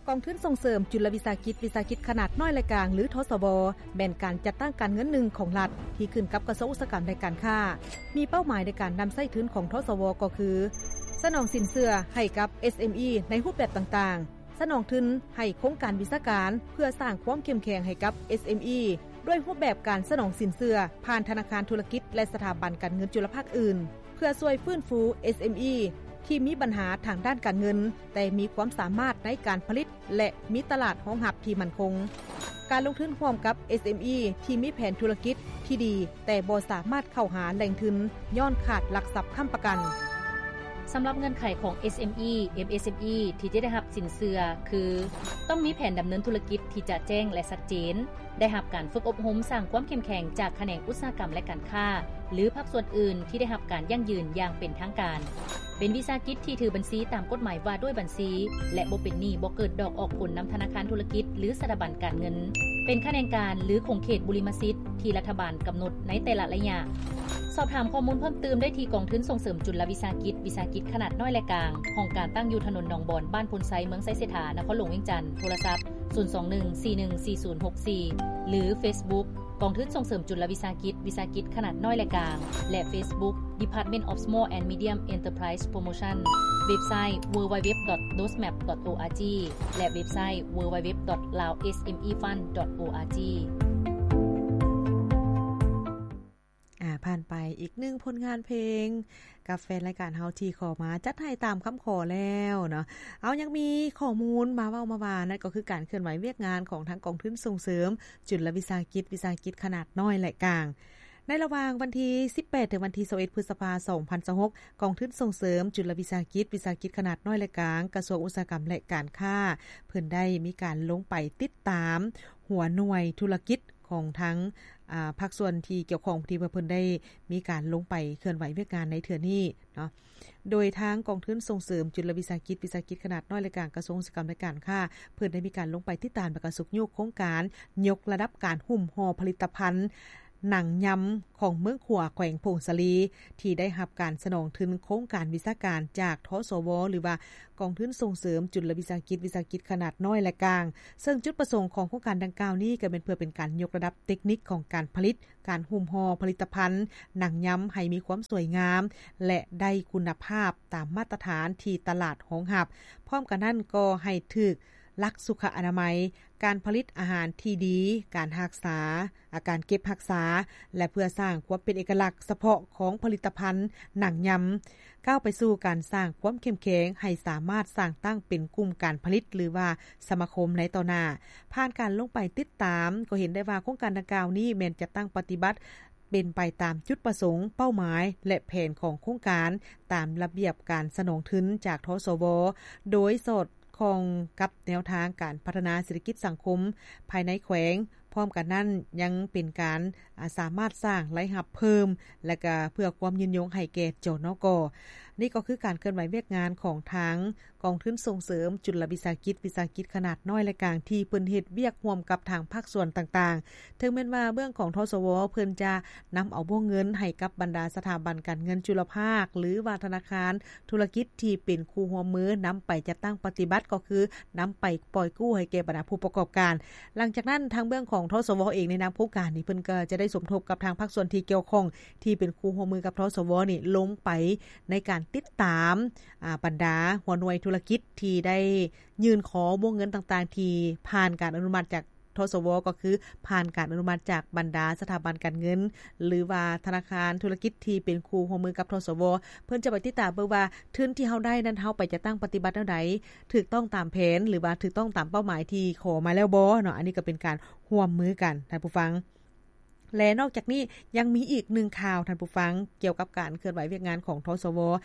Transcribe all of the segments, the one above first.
ກອງທຶນສົ່ງເສີມຈຸນລະວິສາຫະກິດ ວິສາຫະກິດຂະໜາດນ້ອຍ ແລະ ກາງ ຫຼື ທສວ ແມ່ນການຈັດຕັ້ງການເງິນໜຶ່ງຂອງລັດ ທີ່ຂຶ້ນກັບກະຊວງອຸດສາຫະກຳ ແລະ ການຄ້າ, ມີເປົ້າໝາຍໃນການນຳໃຊ້ທຶນຂອງ ທສວ ກໍຄື ສະໜອງສິນເຊື່ອໃຫ້ກັບ ເອສເອັມອີ ໃນຮູບແບບຕ່າງໆ, ສະໜອງທຶນໃຫ້ໂຄງການວິຊາການ ເພື່ອສ້າງຄວາມເຂັ້ມແຂງໃຫ້ກັບ ເອສເອັມອີ ດ້ວຍຮູບແບບການສະໜອງສິນເຊື່ອຜ່ານທະນາຄານທຸລະກິດ ແລະ ສະຖາບັນການເງິນຈຸລະພາກອື່ນ ເພື່ອຊ່ວຍຟື້ນຟູ ເອສເອັມອີ ທີ່ມີບັນຫາທາງດ້ານການເງິນ ແຕ່ມີຄວາມສາມາດໃນການຜະລິດ ແລະ ມີຕະຫຼາດຮອງຮັບທີ່ໝັ້ນຄົງ. ການລົງທຶນຮ່ວມກັບ ເອສເອັມອີ ທີ່ມີແຜນທຸລະກິດທີ່ດີ ແຕ່ບໍ່ສາມາດເຂົ້າຫາແຫຼ່ງທຶນຍ້ອນຂາດຫຼັກຊັບຄ້ຳປະກັນ. ສຳລັບເງື່ອນໄຂຂອງ ເອສເອັມອີ ເອັມເອສເອັມອີ ທີ່ຈະໄດ້ຮັບສິນເຊື່ອຄື ຕ້ອງມີແຜນດຳເນີນທຸລະກິດທີ່ຈະແຈ້ງ ແລະ ຊັດເຈນ, ໄດ້ຮັບການຝຶກອົບຮົມສ້າງຄວາມເຂັ້ມແຂງຈາກຂະແໜງອຸດສາຫະກຳ ແລະ ການຄ້າ ຫຼື ພາກສ່ວນອື່ນທີ່ໄດ້ຮັບການຢັ້ງຢືນຢ່າງເປັນທາງການ, ເປັນວິສາຫະກິດທີ່ຖືບັນຊີຕາມກົດໝາຍວ່າດ້ວຍບັນຊີ ແລະ ບໍ່ເປັນໜີ້ ບໍ່ເກີດດອກອອກຜົນນຳທະນາຄານທຸລະກິດ ຫຼື ສະຖາບັນການເງິນ, ເປັນຂະແໜງການ ຫຼື ຂົງເຂດບຸລິມະສິດທີ່ລັດຖະບານກຳນົດໃນແຕ່ລະໄລຍະ. ສອບຖາມຂໍ້ມູນເພີ່ມຕື່ມໄດ້ທີ່ກອງທຶນສົ່ງເສີມຈຸນລະວິສາຫະກິດ ວິສາຫະກິດຂະໜາດນ້ອຍ ແລະ ກາງ, ຫ້ອງການຕັ້ງຢູ່ຖະໜົນໜອງບອນ, ບ້ານໂພນໄຊ, ເມືອງໄຊເສດຖາ, ນະຄອນຫຼວງວຽງຈັນ, ໂທລະສັບ ສູນສອງໜຶ່ງ ສີ່ໜຶ່ງສີ່ສູນຫົກສີ່ ຫຼື ເຟສບຸກ ກອງທຶນສົ່ງເສີມຈຸນລະວິສາຫະກິດ ວິສາຫະກິດຂະໜາດນ້ອຍ ແລະ ກາງ ແລະ ເຟສບຸກ Department of Small and Medium Enterprise Promotion, ເວັບໄຊ www.dosmap.org ແລະ ເວັບໄຊ www.laosmefund.org. ອາ ຜ່ານໄປອີກໜຶ່ງຜົນງານເພງ ກັບແຟນລາຍການເຮົາທີ່ຂໍມາ ຈັດໃຫ້ຕາມຄຳຂໍແລ້ວເນາະ. ເອົາ ຍັງມີຂໍ້ມູນມາເວົ້າມາວ່າ ນັ້ນກໍຄືການເຄື່ອນໄຫວວຽກງານຂອງທາງກອງທຶນສົ່ງເສີມຈຸນລະວິສາຫະກິດ ວິສາຫະກິດຂະໜາດນ້ອຍ ແລະ ກາງ. ໃນລະຫວ່າງວັນທີສິບແປດ ເຖິງວັນທີຊາວເອັດ ພຶດສະພາ ສອງພັນຊາວຫົກ ກອງທຶນສົ່ງເສີມຈຸນລະວິສາຫະກິດ ວິສາຫະກິດຂະໜາດນ້ອຍ ແລະ ກາງ ກະຊວງອຸດສາຫະກຳ ແລະ ການຄ້າ ເພິ່ນໄດ້ມີການລົງໄປຕິດຕາມຫົວໜ່ວຍທຸລະກິດ ຂອງທາງ ອາ ພາກສ່ວນທີ່ກ່ຽວຂ້ອງ ທີ່ວ່າເພິ່ນໄດ້ມີການລົງໄປເຄື່ອນໄຫວວຽກງານໃນເທື່ອນີ້ເນາະ. ໂດຍທາງກອງທຶນສົ່ງເສີມຈຸນລະວິສາຫະກິດ ວິສາຫະກິດຂະໜາດນ້ອຍ ແລະ ກາງ ກະຊວງອຸດສາຫະກຳ ແລະ ການຄ້າ ເພິ່ນໄດ້ມີການລົງໄປຕິດຕາມ ແລະ ກະຊຸກຍູ້ໂຄງການຍົກລະດັບການຫຸ້ມຫໍ່ຜະລິດຕະພັນ ໜັງຍຳຂອງເມືອງຂວາ ແຂວງຜົ້ງສາລີ ທີ່ໄດ້ຮັບການສະໜອງທຶນໂຄງການວິຊາການຈາກ ທສວ ຫຼືວ່າ ກອງທຶນສົ່ງເສີມຈຸນລະວິສາຫະກິດ ວິສາຫະກິດຂະໜາດນ້ອຍ ແລະ ກາງ, ເຊິ່ງຈຸດປະສົງຂອງໂຄງການດັ່ງກ່າວນີ້ ກໍແມ່ນເພື່ອເປັນການຍົກລະດັບເຕັກນິກຂອງການຜະລິດ, ການຫຸ້ມຫໍ່ຜະລິດຕະພັນໜັງຍຳໃຫ້ມີຄວາມສວຍງາມ ແລະ ໄດ້ຄຸນນະພາບຕາມມາດຕະຖານທີ່ຕະຫຼາດຮອງຮັບ. ພ້ອມກັນນັ້ນກໍໃຫ້ຖືກຫຼັກສຸຂະອະນາໄມ, ການຜະລິດອາຫານທີ່ດີ, ການຮັກສາ ອາ ການເກັບຮັກສາ ແລະ ເພື່ອສ້າງຄວາມເປັນເອກະລັກສະເພາະຂອງຜະລິດຕະພັນໜັງຍຳ, ກ້າວໄປສູ່ການສ້າງຄວາມເຂັ້ມແຂງໃຫ້ສາມາດສ້າງຕັ້ງເປັນກຸ່ມການຜະລິດ ຫຼືວ່າສະມາຄົມໃນຕໍ່ໜ້າ. ຜ່ານການລົງໄປຕິດຕາມ ກໍເຫັນໄດ້ວ່າໂຄງການດັ່ງກ່າວນີ້ແມ່ນຈັດຕັ້ງປະຕິບັດເປັນໄປຕາມຈຸດປະສົງ, ເປົ້າໝາຍ ແລະ ແຜນຂອງໂຄງການ ຕາມລະບຽບການສະໜອງທຶນຈາກ ທສວ ໂດຍສອດ ຂ້ອງກັບແນວທາງການພັດທະນາເສດຖະກິດສັງຄົມພາຍໃນແຂວງ. ພ້ອມກັນນັ້ນຍັງເປັນການ ອາ ສາມາດສ້າງລາຍຮັບເພີ່ມ ແລະ ກະເພື່ອຄວາມຍືນຍົງໃຫ້ແກ່ ຈນກ. ນີ້ກໍຄືການເຄື່ອນໄຫວວຽກງານຂອງທາງກອງທຶນສົ່ງເສີມຈຸນລະວິສາຫະກິດ ວິສາຫະກິດຂະໜາດນ້ອຍ ແລະ ກາງ ທີ່ເພິ່ນເຮັດວຽກຮ່ວມກັບທາງພາກສ່ວນຕ່າງໆ. ເຖິງແມ່ນວ່າເບື້ອງຂອງ ທສວ ເພິ່ນຈະນຳເອົາວົງເງິນໃຫ້ກັບບັນດາສະຖາບັນການເງິນຈຸລະພາກ ຫຼືວ່າທະນາຄານ ທຸລະກິດທີ່ເປັນຄູ່ຮ່ວມມືນຳໄປຈັດຕັ້ງປະຕິບັດ ກໍຄືນຳໄປປ່ອຍກູ້ໃຫ້ແກ່ບັນດາຜູ້ປະກອບການ. ຫຼັງຈາກນັ້ນ ທາງເບື້ອງຂອງ ທສວ ເອງ ໃນນາມໂຄງການນີ້ ເພິ່ນກໍຈະໄດ້ສົມທົບກັບທາງພາກສ່ວນທີ່ກ່ຽວຂ້ອງ ທີ່ເປັນຄູ່ຮ່ວມມືກັບ ທສວ ນີ້ ລົງໄປໃນການຕິດຕາມ ອາ ບັນດາຫົວໜ່ວຍທຸລະກິດທີ່ໄດ້ຍື່ນຂໍວົງເງິນຕ່າງໆ ທີ່ຜ່ານການອະນຸມັດຈາກ ທສວ ກໍຄືຜ່ານການອະນຸມັດຈາກບັນດາສະຖາບັນການເງິນ ຫຼືວ່າທະນາຄານທຸລະກິດທີ່ເປັນຄູ່ຮ່ວມມືກັບ ທສວ ເພິ່ນຈະໄປຕິດຕາມເບິ່ງວ່າທຶນທີ່ເຮົາໄດ້ນັ້ນ ເຮົາໄປຈັດຕັ້ງປະຕິບັດແນວໃດ ຖືກຕ້ອງຕາມແຜນ ຫຼືວ່າຖືກຕ້ອງຕາມເປົ້າໝາຍທີ່ຂໍມາແລ້ວບໍ່ເນາະ. ອັນນີ້ກໍເປັນການຮ່ວມມືກັນ ທ່ານຜູ້ຟັງ. ແລະ ນອກຈາກນີ້ຍັງມີອີກໜຶ່ງຂ່າວ ທ່ານຜູ້ຟັງ, ກ່ຽວກັບການເຄື່ອນໄຫວວຽກງານຂອງ ທສວ.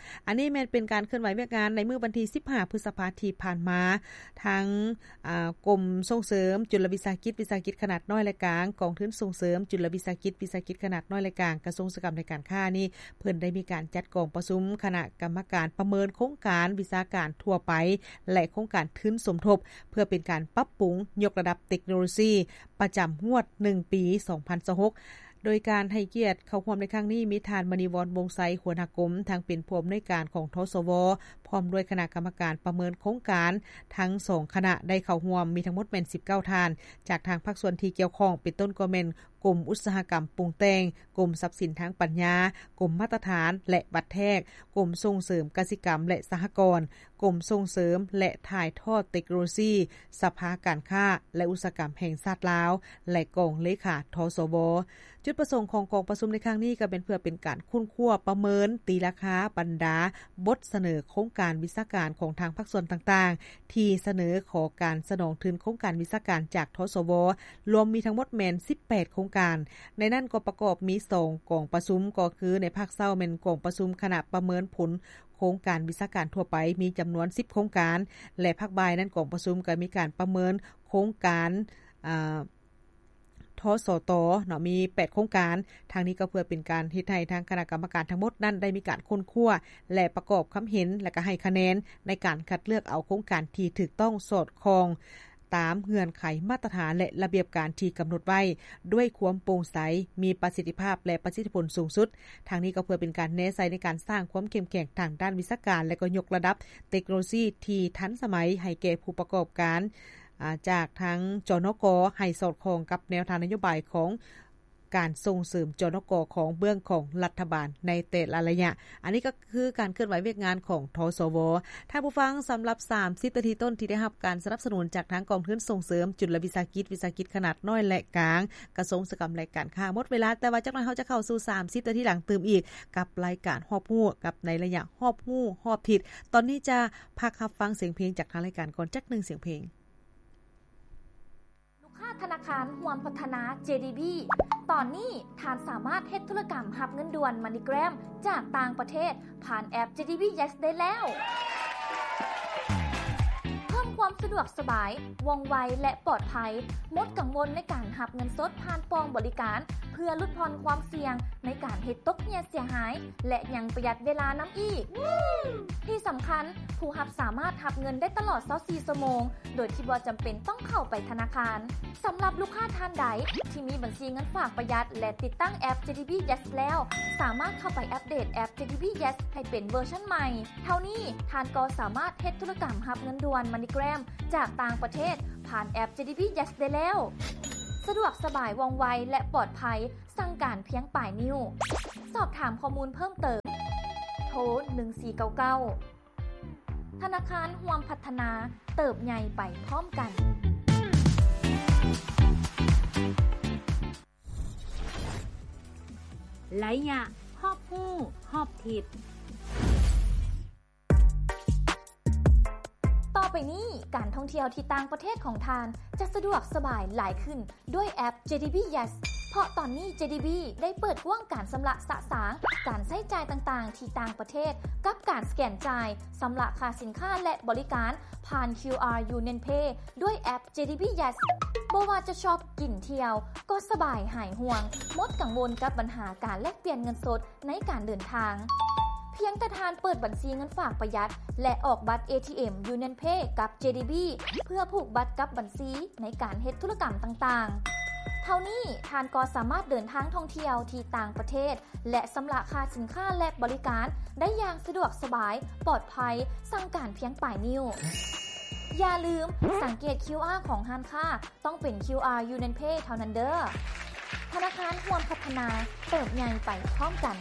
ອັນນີ້ແມ່ນເປັນການເຄື່ອນໄຫວວຽກງານໃນມື້ວັນທີສິບຫ້າ ພຶດສະພາທີ່ຜ່ານມາ, ທາງ ອາ ກົມສົ່ງເສີມຈຸນລະວິສາຫະກິດ ວິສາຫະກິດຂະໜາດນ້ອຍ ແລະ ກາງ, ກອງທຶນສົ່ງເສີມຈຸນລະວິສາຫະກິດ ວິສາຫະກິດຂະໜາດນ້ອຍ ແລະ ກາງ, ກະຊວງອຸດສາຫະກຳ ແລະ ການຄ້ານີ້ ເພິ່ນໄດ້ມີການຈັດກອງປະຊຸມຄະນະກຳມະການປະເມີນໂຄງການວິຊາການທົ່ວໄປ ແລະ ໂຄງການທຶນສົມທົບ ເພື່ອເປັນການປັບປຸງຍົກລະດັບເຕັກໂນໂລຊີປະຈຳງວດໜຶ່ງປີ ສອງພັນຊາວຫົກ ໂດຍການໃຫ້ກຽດເຂົ້າຮ່ວມໃນຄັ້ງນີ້ ມີທ່ານ ມະນີວອນ ວົງໄຊ ຫົວໜ້າກົມ, ທັງເປັນຜູ້ອຳນວຍການຂອງ ທສວ, ພ ພ້ອມດ້ວຍຄະນະກຳມະການປະເມີນໂຄງການທັງສອງຄະນະໄດ້ເຂົ້າຮ່ວມ ມີທັງໝົດແມ່ນສິບເກົ້າທ່ານ ຈາກທາງພາກສ່ວນທີ່ກ່ຽວຂ້ອງ ເປັນຕົ້ນກໍແມ່ນ ກົມອຸດສາຫະກຳປຸງແຕ່ງ, ກົມຊັບສິນທາງປັນຍາ, ກົມມາດຕະຖານ ແລະ ວັດແທກ, ກົມສົ່ງເສີມກະສິກຳ ແລະ ສະຫະກອນ, ກົມສົ່ງເສີມ ແລະ ຖ່າຍທອດເຕັກໂນໂລຊີ, ສະພາການຄ້າ ແລະ ອຸດສາຫະກຳແຫ່ງຊາດລາວ ແລະ ກອງເລຂາ ທສວ. ຈຸດປະສົງຂອງກອງປະຊຸມໃນຄັ້ງນີ້ກໍແມ່ນເພື່ອເປັນການຄົ້ນຄວ້າປະເມີນຕີລາຄາບັນດາບົດສະເໜີໂຄງການວິຊາການຂອງທາງພາກສ່ວນຕ່າງໆ ທີ່ສະເໜີຂໍການສະໜອງທຶນໂຄງການວິຊາການຈາກ ທສວ ລວມມີທັງໝົດແມ່ນສິບແປດໂຄງການ. ໃນນັ້ນກໍປະກອບມີສອງກອງປະຊຸມ ກໍຄືໃນພາກເຊົ້າແມ່ນກອງປະຊຸມຄະນະປະເມີນຜົນໂຄງການວິຊາການທົ່ວໄປ ມີຈຳນວນສິບໂຄງການ ແລະ ພາກບ່າຍນັ້ນກອງປະຊຸມກໍມີການປະເມີນໂຄງການ ອາ ທສຕ ເນາະ ມີແປດໂຄງການ. ທາງນີ້ກໍເພື່ອເປັນການເຮັດໃຫ້ທາງຄະນະກຳມະການທັງໝົດນັ້ນໄດ້ມີການຄົ້ນຄວ້າ ແລະ ປະກອບຄຳເຫັນ ແລະ ກໍໃຫ້ຄະແນນໃນການຄັດເລືອກເອົາໂຄງການທີ່ຖືກຕ້ອງສອດຄ່ອງຕາມເງື່ອນໄຂມາດຕະຖານ ແລະ ລະບຽບການທີ່ກຳນົດໄວ້ ດ້ວຍຄວາມໂປ່ງໃສ, ມີປະສິດທິພາບ ແລະ ປະສິດທິຜົນສູງສຸດ. ທາງນີ້ກໍເພື່ອເປັນການແນໃສ່ໃນການສ້າງຄວາມເຂັ້ມແຂງທາງດ້ານວິຊາການ ແລະ ກໍຍົກລະດັບເຕັກໂນໂລຊີທີ່ທັນສະໄໝໃຫ້ແກ່ຜູ້ປະກອບການ ອາ ຈາກທາງ ຈນກ ໃຫ້ສອດຄ່ອງກັບແນວທາງນະໂຍບາຍຂອງການສົ່ງເສີມ ຈນກ ຂອງເບື້ອງຂອງລັດຖະບານໃນແຕ່ລະໄລຍະ. ອັນນີ້ກໍຄືການເຄື່ອນໄຫວວຽກງານຂອງ ທສວ. ທ່ານຜູ້ຟັງ, ສຳລັບສາມສິບນາທີຕົ້ນທີ່ໄດ້ຮັບການສະໜັບສະໜູນຈາກທາງກອງທຶນສົ່ງເສີມຈຸລະວິສາຫະກິດ, ວິສາຫະກິດຂະໜາດນ້ອຍ ແລະ ກາງ, ກະຊວງອຸດສາຫະກຳ ແລະ ການຄ້າ ໝົດເວລາ, ແຕ່ວ່າຈັກໜ່ອຍເຮົາຈະເຂົ້າສູ່ສາມສິບນາທີຫຼັງຕື່ມອີກ ກັບລາຍການຮອບຮູ້ ກັບໃນໄລຍະຮອບຮູ້ຮອບທິດ. ຕອນນີ້ຈະພັກຮັບຟັງສຽງເພງຈາກທາງລາຍການກ່ອນຈັກໜຶ່ງສຽງເພງ. ລູກຄ້າທະນາຄານຮ່ວມພັດທະນາ ເຈດີບີ ຕອນນີ້ທ່ານສາມາດເຮັດທຸລະກຳຮັບເງິນດ່ວນ MoneyGram ຈາກຕ່າງປະເທດຜ່ານແອັບ ເຈດີບີ Yes ໄດ້ແລ້ວ. ເພີ່ມຄວາມສະດວກສະບາຍ, ວ່ອງໄວ ແລະ ປອດໄພ, ໝົດກັງວົນໃນການຮັບເງິນສົດຜ່ານປ່ອງບໍລິການ ເພື່ອຫຼຸດຜ່ອນຄວາມສ່ຽງໃນການເຮັດຕົກເຫຍເສຍຫາຍ ແລະ ຍັງປະຢັດເວລານຳອີກ. ທີ່ສຳຄັນ, ຜູ້ຮັບສາມາດຮັບເງິນໄດ້ຕະຫຼອດຊາວສີ່ຊົ່ວໂມງ ໂດຍທີ່ບໍ່ຈຳເປັນຕ້ອງເຂົ້າໄປທະນາຄານ. ສຳລັບລູກຄ້າທ່ານໃດທີ່ມີບັນຊີເງິນຝາກປະຢັດ ແລະ ຕິດຕັ້ງແອັບ ເຈດີບີ Yes ແລ້ວ, ສາມາດເຂົ້າໄປອັບເດດແອັບ ເຈດີບີ Yes ໃຫ້ເປັນເວີຊັນໃໝ່. ເທົ່ານີ້, ທ່ານກໍສາມາດເຮັດທຸລະກຳຮັບເງິນດ່ວນ MoneyGram ຈາກຕ່າງປະເທດຜ່ານແອັບ ເຈດີບີ Yes ໄດ້ແລ້ວ. ສະດວກສະບາຍ, ວ່ອງໄວ ແລະ ປອດໄພ, ສັ່ງການພຽງປາຍນິ້ວ. ສອບຖາມຂໍ້ມູນເພີ່ມເຕີມ, ໂທ ໜຶ່ງສີ່ເກົ້າເກົ້າ. ທະນາຄານຮ່ວມພັດທະນາ, ເຕີບໃຫຍ່ໄປພ້ອມກັນ. ໄລຍະຮອບຮູ້ຮອບທິດ. ຕໍ່ໄປນີ້, ການທ່ອງທ່ຽວທີ່ຕ່າງປະເທດຂອງທ່ານຈະສະດວກສະບາຍຫຼາຍຂຶ້ນ ດ້ວຍແອັບ ເຈດີບີ Yes ເພາະຕອນນີ້ ເຈດີບີ ໄດ້ເປີດກວ້າງການຊຳລະສະສາງການໃຊ້ຈ່າຍຕ່າງໆທີ່ຕ່າງປະເທດ ກັບການສະແກນຈ່າຍ, ຊຳລະຄ່າສິນຄ້າ ແລະ ບໍລິການຜ່ານ ຄິວອາ Union Pay ດ້ວຍແອັບ ເຈດີບີ Yes. ບໍ່ວ່າຈະຊອບ, ກິນ, ທ່ຽວ ກໍສະບາຍຫາຍຫ່ວງ, ໝົດກັງວົນກັບບັນຫາການແລກປ່ຽນເງິນສົດ ໃນການເດີນທາງ. ພຽງແຕ່ທ່ານເປີດບັນຊີເງິນຝາກປະຢັດ ແລະ ອອກບັດ ເອທີເອັມ Union Pay ກັບ ເຈດີບີ ເພື່ອຜູກບັດກັບບັນຊີໃນການເຮັດທຸລະກຳຕ່າງໆ. ເທົ່ານີ້, ທ່ານກໍສາມາດເດີນທາງທ່ອງທ່ຽວທີ່ຕ່າງປະເທດ ແລະ ຊຳລະຄ່າສິນຄ້າ ແລະ ບໍລິການໄດ້ຢ່າງສະດວກສະບາຍ, ປອດໄພ, ສັ່ງການພຽງປາຍນິ້ວ. ຢ່າລືມ, ສັງເກດ ຄິວອາ ຂອງຮ້ານຄ້າ ຕ້ອງເປັນ ຄິວອາ Union Pay ເທົ່ານັ້ນເດີ້. ທະນາຄານຮ່ວມພັດທະນາ, ເຕີບໃຫຍ່ໄປພ້ອມກັນ.